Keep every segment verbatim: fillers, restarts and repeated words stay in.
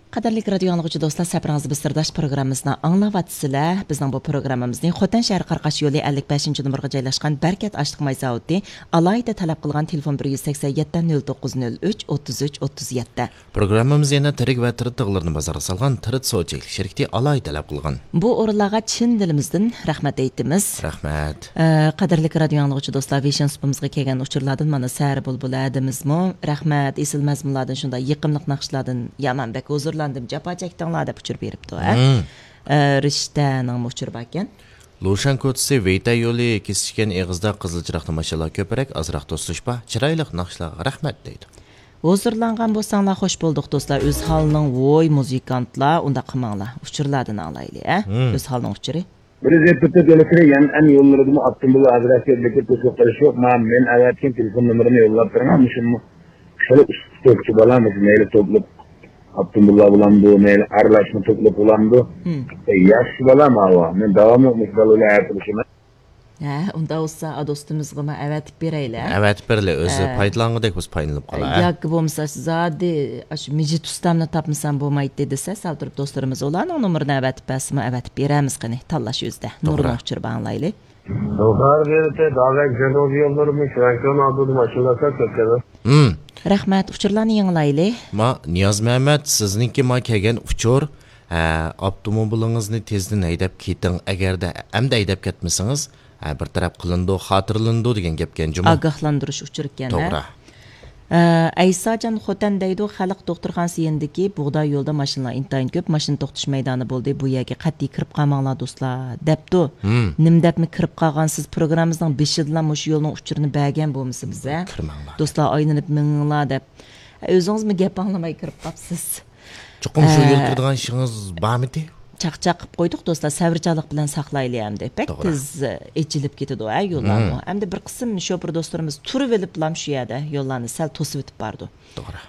قەدىرلىك رادىيو ئاڭلىغۇچى دوستلار، سەپىرىڭىز بىر سىرداش پروگراممىسىنى ئاڭلاۋاتىسىلەر. بىزنىڭ بۇ پروگراممىمىزنى خوتەن شەھىرى قاراقاش يولى ئەللىك بەشىنچى نومۇرغا جايلاشقان بەرىكەت ئاشلىق ماي زاۋۇتى ئالاھىدە تەلەپ قىلغان تېلېفون بىر يۈز سەكسەن يەتتە، نۆل توققۇز نۆل ئۈچ، ئوتتۇز ئۈچ، ئوتتۇز يەتتە. پروگراممىمىز يەنە تىرىك ۋە تىرىت تىغلىرىنى بازارغا سالغان تىرىت سودا چەكلىك شىركىتى ئالاھىدە تەلەپ قىلغان. بۇ ئورۇنلارغا چىن دىلىمىزدىن رەھمەت ئېيتىمىز. رەھمەت. ئە، قەدىرلىك رادىيو ئاڭلىغۇچى دوستلار، ۋىشن سۇپىمىزغا كەلگەن ئۇچۇرلاردىن مانا سەھەر بۇلبۇلى ھەدىمىزمۇ رەھمەت، ئېسىل مەزمۇنلاردىن، شۇنداق يېقىملىق ناخشىلاردىن يامان بەك ھۇزۇرلاندىم، جاپا چەكتىڭلار دەپ ئۇچۇر بېرىپتۇ، ھە؟ مم. ئە، رىشتەنىڭمۇ ئۇچۇرى باركەن. لۇشەن كوچىسى ۋېيتەي يولى كېسىشكەن ئېغىزدا قىزىل چىراغدا ماشىنىلار كۆپرەك، ئازراق توسۇلۇش بار. چىرايلىق ناخشىلارغا رەھمەت دەيدۇ. ھۇزۇرلانغان بولساڭلار خوش بولدۇق دوستلار. ئۆزھالنىڭ ۋوي مۇزىكانتلار، ئۇنداق قىلماڭلار. ئۇچۇرلاردىن ئاڭلايلى، ھە؟ مم. ئۆزھالنىڭ ئۇچۇرى. بىر يۈز يەتتە تۆت يولى كىرە يەنئەن يوللىرىدىمۇ ئاپتوموبىل ئازراق كۆپلۈككە توسۇپ قېلىش يوق. مانا مەن ئەۋەتكەن تېلېفون نومۇرىنى يوللاپ بېرىڭ. مۇشۇمۇ خېلى ئۇستىچى بالا، مۇشۇ مەيلى توپلۇق ئاپتوموبىللار بولامدۇ، مەيلى ئارىلاشما توپلۇق بولامدۇ. مم. ئە، ياخشى بالا ماۋۇ. مەن داۋاملىق مۇشۇ بالا بىلەن ئەتىرىشىمەن. ھە، ئۇنداق بولسا، ئا، دوستىمىزغىمۇ ئەۋەتىپ بېرەيلى، ھە؟ ئەۋەتىپ بېرىلى، ئۆزى ھە. پايدىلانغۇدەك بولسا پايدىلىنىپ قالاي، ھە؟ ياكى بولمىسا، زادى ئاشۇ مىجىت ئۇستامنى تاپمىسام بولمايتتى دېسە، سەل تۇرۇپ دوستلىرىمىز ئۇلارنىڭ نومۇرىنى ئەۋەتىپ بەرسىمۇ، ئەۋەتىپ بېرەمىز قېنى، تاللاش ئۆزىدە. توغرا. نۇرنىڭ ئۇچۇرى بار، ئاڭلايلى. زوھار بېرىتى، داۋەت جەنۇبىي يوللىرىمۇ شىرەكىن ئالدىدا ماشىنىلار كۆپ كەلدى. ھىم. رەھمەت، ئۇچۇرلارنى يېڭىلايلى. ما، نىياز مەمەت، سىزنىڭكى ما كەلگەن ئۇچۇر، ھە، ئاپتوموبىلىڭىزنى تېزدىن ھەيدەپ كېتىڭ، ئەگەردە ئەمدى ھەيدەپ كەتمىسىڭىز، ھە، بىر تەرەپ قىلىنىدۇ، خاتىرىلىنىدۇ دېگەن گەپكەن جۇمۇ. ئاگاھلاندۇرۇش ئۇچۇرى ئىكەن، ھە؟ توغرا. ئە، ئەيساجان خوتەن دەيدۇ، خەلق دوختۇرخانىسى يېنىدىكى بۇغداي يولىدا ماشىنىلار ئىنتايىن كۆپ، ماشىنا توختىتىش مەيدانى بولدى، بۇ يەرگە قەتئىي كىرىپ قالماڭلار دوستلار، دەپتۇ. ھىم. نېمە دەپمۇ كىرىپ قالغانسىز؟ پروگراممىمىزنىڭ بېشىدىلا مۇشۇ يولنىڭ ئۇچۇرىنى بەرگەن بولمىسا بىزە. كىرمەڭلار. دوستلار، ئايلىنىپ مېڭىڭلار دەپ. ئۆزىڭىزمۇ گەپ ئاڭلىماي كىرىپ قاپسىز. چوقۇم شۇ ئە، يول كىرىدىغان ئىشىڭىز بارمىدى؟ چاقچاق قىلىپ قويدۇق دوستلار، سەۋرچانلىق بىلەن ساقلايلى ئەمدى. بەك توغرا. تېز، ئە، ئېچىلىپ كېتىدۇ، ھە، يوللارمۇ. مم. ئەمدى بىر قىسىم شوپۇر دوستلىرىمىز تۇرۇۋېلىپلام شۇ يەردە يوللارنى سەل توسۇۋېتىپ بارىدۇ. توغرا.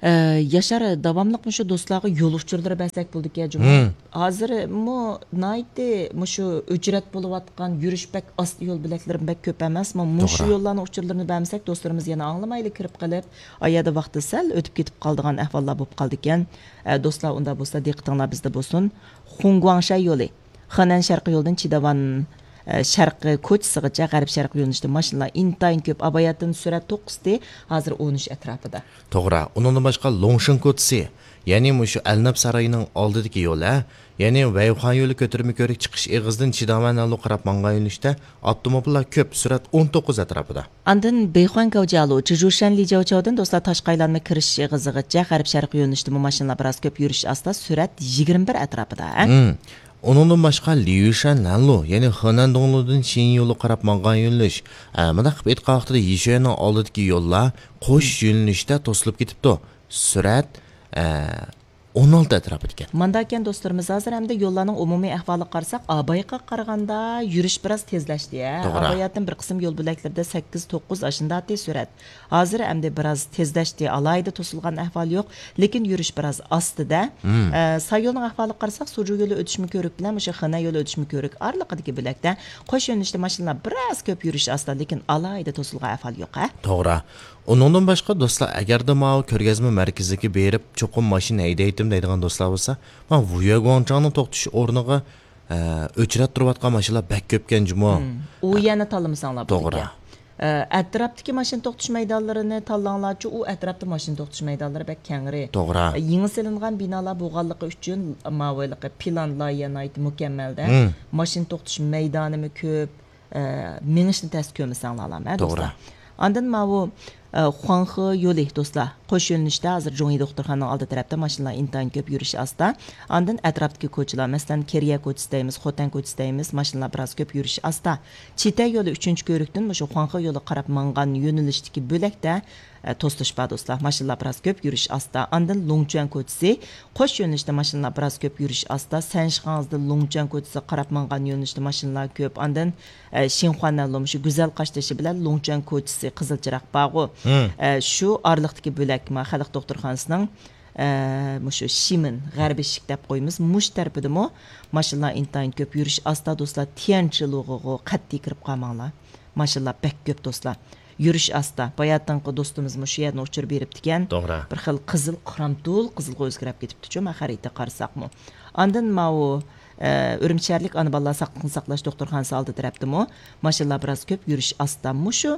ئە، ياشار، داۋاملىق مۇشۇ دوستلارغا يول ئۇچۇرلىرى بەرسەك بولىدىكەن جۇمۇ. مم. ھازىرمۇ ناھايىتى مۇشۇ ئۆچرەت بولۇۋاتقان، يۈرۈش بەك ئاستا يول بۆلەكلىرىمۇ بەك كۆپ ئەمەسمۇ. مۇشۇ توغرا. يوللارنىڭ ئۇچۇرلىرىنى بەرمىسەك، دوستلىرىمىز يەنە ئاڭلىمايلا كىرىپ قېلىپ، ئا يەردە ۋاقتى سەل ئۆتۈپ كېتىپ قالىدىغان ئەھۋاللار بولۇپ قالىدىكەن. ئە، دوستلار، ئۇنداق بولسا دىققىتىڭلار بىزدە بولسۇن. خۇڭگۇاڭشەي يولى. خېنەن شەرقىي يولىدىن چىداۋان، ئە، شەرقىي كوچىسىغىچە غەرب شەرقىي يۆنىلىشتە ماشىنىلار ئىنتايىن كۆپ. ئاباياتىن سۈرئەت توققۇزتى، ھازىر ئون ئۈچ ئەتراپىدا. توغرا. ئۇنىڭدىن باشقا لوڭشىن كوچىسى، يەنى مۇشۇ ئەلنەپ سارىيىنىڭ ئالدىدىكى يول، ھە؟ يەنى ۋەيخۇەن يولى كۆتۈرمە كۆۋرۈك چىقىش ئېغىزىدىن چىداۋەن ھەنلۇ قاراپ ماڭغان يۆنىلىشتە ئاپتوموبىللار كۆپ، سۈرئەت ئون توققۇز ئەتراپىدا. ئاندىن بېيخۇەن گاۋجيالۇ، چىژۇشەن لىجياۋچاۋدىن دوستلار تاش قايلانما كىرىش ئېغىزىغىچە غەرب شەرقىي يۆنىلىشتىمۇ ماشىنىلار بىراز كۆپ، يۈرۈش ئاستا، سۈرئەت يىگىرمە بىر ئەتراپىدا. مم. ئۇنىڭدىن باشقا ليۇشەن لەنلۇ، يەنى خېنەن دوڭلۇدىن شىنيۇلۇ قاراپ ماڭغان يۆنىلىش. ئە، مۇنداق قىلىپ ئېيتقان ۋاقتىدا يىشۈەننىڭ ئالدىدىكى يوللار قوش يۆنىلىشتە توسۇلۇپ كېتىپتۇ. سۈرئەت، ئە، ئون ئالتە ئەتراپىدىكەن. مانداكەن دوستلىرىمىز، ھازىر ئەمدى يوللارنىڭ ئومۇمىي ئەھۋالىغا قارىساق، ئابايغا قارىغاندا يۈرۈش بىراز تېزلەشتى، ھە؟ توغرا. ئاباياتىن بىر قىسىم يول بۆلەكلىرىدە سەككىز، توققۇز ئاشۇنداتى سۈرئەت. ھازىر ئەمدى بىراز تېزلەشتى، ئالاھىدە توسۇلغان ئەھۋال يوق، لېكىن يۈرۈش بىراز ئاستىدە. مم. ئە، ساييولنىڭ ئەھۋالىغا قارىساق، سۇجۇ يولى ئۆتۈشمە كۆۋرۈك بىلەن مۇشۇ خېنەن يولى ئۆتۈشمە كۆۋرۈك ئارىلىقىدىكى بۆلەكتە قوش يۆنىلىشتە ماشىنىلار بىراز كۆپ، يۈرۈش ئاستا، لېكىن ئالاھىدە توسۇلغان ئەھۋال يوق، ھە؟ توغرا. ئۇنىڭدىن باشقا دوستلار، ئەگەردە ماۋۇ كۆرگەزمە مەركىزىگە بېرىپ چوقۇم ماشىنا ھەيدەيتتىم دەيدىغان دوستلار بولسا، مانا ۋۇيەگۇاڭچاڭنىڭ توختىتىش ئورنىغا، ئە، ئۆچرەت تۇرۇۋاتقان ماشىنىلار بەك كۆپكەن جۇمۇ. مم. ئۇ يەرنى تاللىمىساڭلار توغرا. بولىدىكەن. ئە، ئەتراپتىكى ماشىنا توختىتىش مەيدانلىرىنى تاللاڭلارچۇ، ئۇ ئەتراپتا ماشىنا توختىتىش مەيدانلىرى بەك كەڭرى. توغرا. ئە، يېڭى سېلىنغان بىنالار بولغانلىقى ئۈچۈن ماۋۇ ھېلىقى پىلان لايىھە ناھايىتى مۇكەممەلدە. مم. ماشىنا توختىتىش مەيدانىمۇ كۆپ. ئە، مېڭىشنى تەس كۆرمىسەڭلارلا، ھە، توغرا. دوستلار. ئاندىن ماۋۇ، ئە، خۇاڭخې يولى، دوستلار. قوش يۆنىلىشتە ھازىر جۇڭيى دوختۇرخانىنىڭ ئالدى تەرەپتە ماشىنىلار ئىنتايىن كۆپ، يۈرۈش ئاستا. ئاندىن ئەتراپتىكى كوچىلار، مەسىلەن، كېرىيە كوچىسى دەيمىز، خوتەن كوچىسى دەيمىز، ماشىنىلار بىراز كۆپ، يۈرۈش ئاستا. چىتەي يولى ئۈچىنچى كۆۋرۈكتىن مۇشۇ خۇاڭخې يولىغا قاراپ ماڭغان يۆنىلىشتىكى بۆلەكتە، ئە، توسۇلۇش بار، دوستلار. ماشىنىلار بىراز كۆپ، يۈرۈش ئاستا. ئاندىن لۇڭچۈەن كوچىسى، قوش يۆنىلىشتە ماشىنىلار بىراز كۆپ، يۈرۈش ئاستا. سەنشىخاڭزدىن لۇڭچۈەن كوچىسىغا قاراپ ماڭغان يۆنىلىشتە ماشىنىلار كۆپ. ئاندىن، ئە، شىنخۇەننەنلۇ مۇشۇ گۈزەل قاشتېشى بىلەن لۇڭچۈەن كوچىسى، قىزىل چىراغ بارغۇ. مم. ئە، شۇ ئارىلىقتىكى بۆلەك، ما، خەلق دوختۇرخانىسىنىڭ، ئە، مۇشۇ شىمېن، غەربىي ئىشىك دەپ قويىمىز، مۇشۇ تەرىپىدىمۇ ماشىنىلار ئىنتايىن كۆپ. يۈرۈش ئاستا، دوستلار، تيەنشىلۇغىغۇ قەتئىي كىرىپ قالماڭلار. ماشىنىلار بەك كۆپ، دوستلار. يۈرۈش ئاستا. باياتىنقى دوستىمىزمۇ شۇ يەردىن ئۇچۇر بېرىپتىكەن. توغرا. بىر خىل قىزىل، قىرامتۇل قىزىلغا ئۆزگىرىپ كېتىپتىچۇ، مەن خەرىتە قارىساقمۇ. ئاندىن ماۋۇ، ئە، ئۈرۈمچى شەھەرلىك ئانا بالىلار ساقلىقنى ساقلاش دوختۇرخانىسى ئالدى تەرەپتىمۇ ماشىنىلار بىراز كۆپ، يۈرۈش ئاستا. مۇشۇ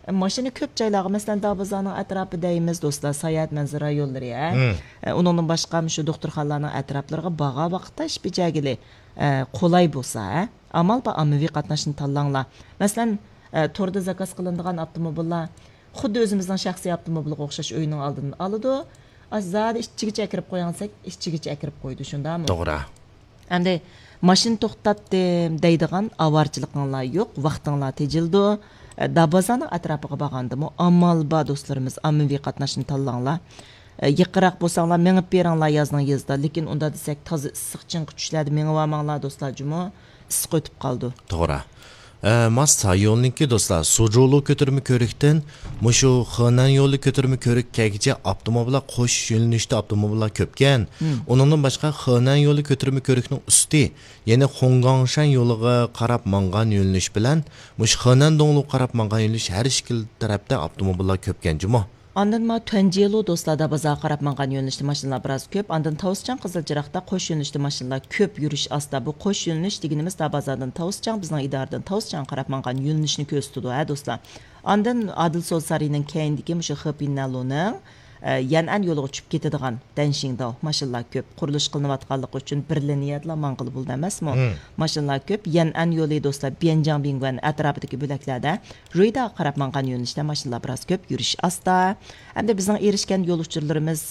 ماشىنا كۆپ جايلارغا، مەسىلەن، داربازارنىڭ ئەتراپى دەيمىز، دوستلار، ساياھەت مەنزىرە رايونلىرى، ھە؟ مم. ئە، ئۇنىڭدىن باشقا، مۇشۇ دوختۇرخانىلارنىڭ ئەتراپلىرىغا بارغان ۋاقىتتا ئىش بېجەرگىلى، ئە، قولاي بولسا، ھە؟ ئامال بار، ئاممىۋى قاتناشنى تاللاڭلار. مەسىلەن، ئە، توردا زاكاز قىلىنىدىغان ئاپتوموبىللار خۇددى ئۆزىمىزنىڭ شەخسىي ئاپتوموبىلىغا ئوخشاش ئۆينىڭ ئالدىدىن ئالىدۇ. ئاز زادى ئىچىگىچە ئەكىرىپ قويۇڭ دېسەك، ئىچىگىچە ئەكىرىپ قويىدۇ، شۇنداقمۇ؟ توغرا. ئەمدى ماشىنا توختاتتىم دەيدىغان ئاۋارىچىلىقىڭلار يوق، ۋاقتىڭلار تېجىلىدۇ. ئە، دابازانىڭ ئەتراپىغا بارغاندىمۇ ئامال بار، دوستلىرىمىز، ئاممىۋى قاتناشنى تاللاڭلار. ئە، يېقىنراق بولساڭلار مېڭىپ بېرىڭلار يازنىڭ يېزىدا. لېكىن ئۇنداق دېسەك، تازا ئىسسىق چىڭقى چۈشلەردە مېڭىۋالماڭلار، دوستلار، جۇمۇ. ئىسسىق ئۆتۈپ قالىدۇ. توغرا. ئە، ماس سايوننىڭكى دوستلار، سۇجۇلۇ كۆتۈرمە كۆرۈكتىن مۇشۇ خېنەن يولى كۆتۈرمە كۆرۈككەگىچە ئاپتوموبىللار قوش يۆنىلىشتە ئاپتوموبىللار كۆپكەن. مم. ئۇنىڭدىن باشقا، خېنەن يولى كۆتۈرمە كۆرۈكنىڭ ئۈستى، يەنى خۇڭگاڭشەن يولىغا قاراپ ماڭغان يۆنىلىش بىلەن مۇشۇ خېنەن دوڭلۇغا قاراپ ماڭغان يۆنىلىش، ھەر ئىككىلا تەرەپتە ئاپتوموبىللار كۆپكەن جۇمۇ. ئاندىن ما تۈەنجيېلۇ دوستلار، دابازاغا قاراپ ماڭغان يۆنىلىشتە ماشىنىلار بىراز كۆپ. ئاندىن تاۋۇسچاڭ، قىزىل چىراغدا قوش يۆنىلىشتە ماشىنىلار كۆپ، يۈرۈش ئاستا. بۇ قوش يۆنىلىش دېگىنىمىز دابازادىن تاۋۇسچاڭ، بىزنىڭ ئىدارىدىن تاۋۇسچاڭ قاراپ ماڭغان يۆنىلىشنى كۆرسىتىدۇ، ھە، دوستلار. ئاندىن ئادىل سودا سارىيىنىڭ كەينىدىكى مۇشۇ خېپىننەلۇنىڭ، ئە، يەنئەن يولىغا چۈشۈپ كېتىدىغان دەنشىڭداۋ ماشىنىلار كۆپ. قۇرۇلۇش قىلىنىۋاتقانلىقى ئۈچۈن بىر لىنىيەدىلا ماڭغىلى بولىدۇ ئەمەسمۇ؟ مم. ماشىنىلار كۆپ. يەنئەن يولى دوستلار، بيەنجاڭ بىڭگۈەن ئەتراپىدىكى بۆلەكلەردە، رۇيداغا قاراپ ماڭغان يۆنىلىشتە ماشىنىلار بىراز كۆپ، يۈرۈش ئاستا. ئەمدى بىزنىڭ ئېرىشكەن يول ئۇچۇرلىرىمىز،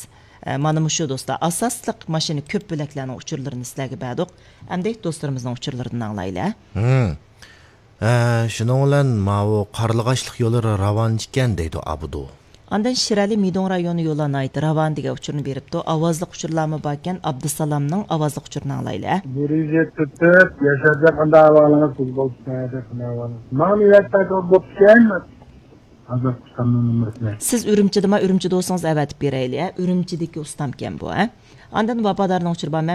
ئە، مانا مۇشۇ دوستلار. ئاساسلىق ماشىنا كۆپ بۆلەكلەرنىڭ ئۇچۇرلىرىنى سىلەرگە بەردۇق. ئەمدى دوستلىرىمىزنىڭ ئۇچۇرلىرىدىن ئاڭلايلى. مم. ئە، شۇنىڭ بىلەن ماۋۇ قارلىغاچلىق يولى راۋان ئىكەن دەيدۇ ئابدۇ. ئاندىن شىرئەلى مىدوڭ رايونى يولى ناھايىتى راۋان دېگەن ئۇچۇرنى بېرىپتۇ. ئاۋازلىق ئۇچۇرلارمۇ باركەن، ئابدۇسالامنىڭ ئاۋازلىق ئۇچۇرىنى ئاڭلايلى. بىر يۈز يەتتە تۆت، ياشارجان، قانداق ئەھۋالىڭىز؟ سىز بولسا قانداق ئەھۋالىڭىز؟ ماڭا نۆۋەتتە بوپتىكەن. ھازىر ئۇستامنىڭ نومۇرىنى. سىز ئۈرۈمچىدىما؟ ئۈرۈمچىدە بولسىڭىز ئەۋەتىپ بېرەيلى، ھە؟ ئۈرۈمچىدىكى ئۇستامكەن بۇ، ھە؟ ئاندىن ۋاپادارنىڭ ئۇچۇرى بار. مەن